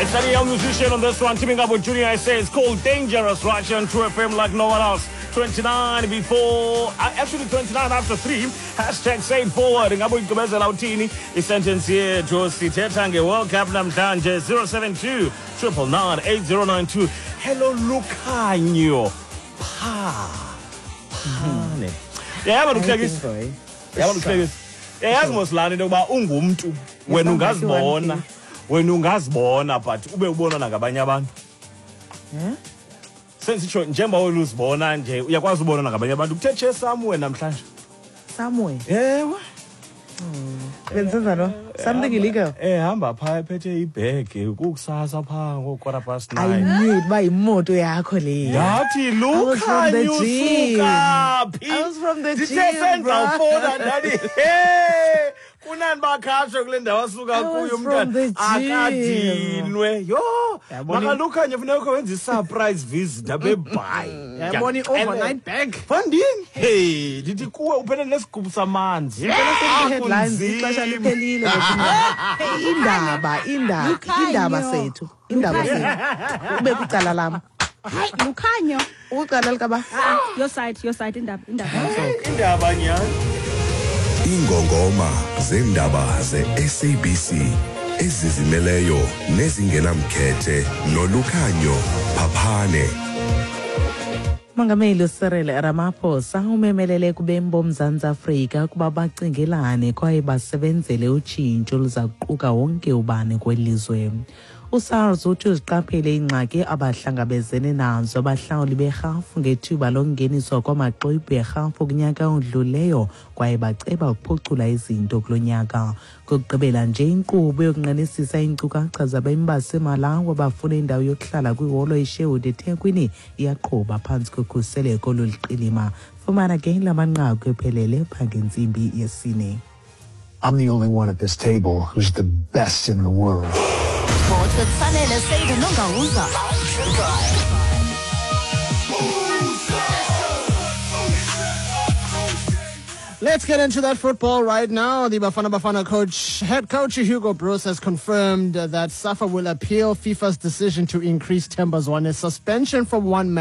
It's a young musician on this one, teaming up with Junior SA. It's called Dangerous right here on True FM like no one else. 29 before, actually 29 after 3. #SayItForward. Ngabe uyigqibezela uthini isentence yethu? Sithetha nge-World Cup namhlanje. 072 999 8092. Hello, Lukhanyo. Pha. Phane. Yaba luhlekisa. Yaba luhlekisa. Yayazi mos laa nto into yokuba ungumntu wena ungazibona. Wena ungazibona but ube ubonwa nangabanye abantu. Sensitsho njengoba wena uzibona nje uyakwazi ubona nangabanye abantu. Kuthe tshe somewhere namhlanje. Somewhere. Ewe. Bensenza no? Something illegal. Hamba phaa ephethe ibhegi kukusasa phaa ngo-quarter past I nine. knew it uba yimoto yakho le. Ndathi I was from the Lukhanyo gym. suka phi? I was from the Ndithe gym, sendizawufowuna ndathi he kunani bakhatshwe kule ndawo asuka I was kuyo from umntana the gym. akadinwe. Yho, Yabona makaLukhanyo funeka ukhe wenze i-surprise visit apha eBhayi. Yabona i-overnight bag. Fandini, hey, ndithi kuwe uphethe nesigubhu samanzi. Headlines ixesha liphelile. Indaba, indaba, Lukhanyo. indaba sethu. Indaba Lukhanyo. sethu. Ube kwicala lam. Hayi, Lukhanyo. Ukwicala likaba. Your side, your side, indaba, indaba. Indaba nyhani. Ingongoma zendaba ze-SABC ezizimeleyo nezingenamkhethe noLukhanyo Phaphane. Mongameli Cyril Ramaphosa umemelele kubemi boMzantsi Afrika ukuba bacingelane kwaye basebenzele utshintsho oluza kuquka wonke ubani kweli lizwe. USARS uthi uziqaphele iingxaki abahlangabezene nazo abahlawuli berhafu ngethuba lokungeniswa kwamaxwebhu erhafu kunyaka odluleyo kwaye baceba ukuphucula izinto kulo nyaka. Kokugqibela nje inkqubo yokunqenisisa iinkcukacha zabemi baseMalawi abafuna indawo yokuhlala kwiholo iSherwood eThekwini iyaqhuba phantsi kokhuseleko oluliqilima. Fumana ke la manqaku ephelele phaa ngentsimbi yesine. I'm the only one at this table who's the best in the world. Sports with Sanele Seyide Nongawuza. Let's get into that football right now. The Bafana Bafana head coach Hugo Broos has confirmed that SAFA will appeal FIFA's decision to increase Themba Zwane's suspension from 1 match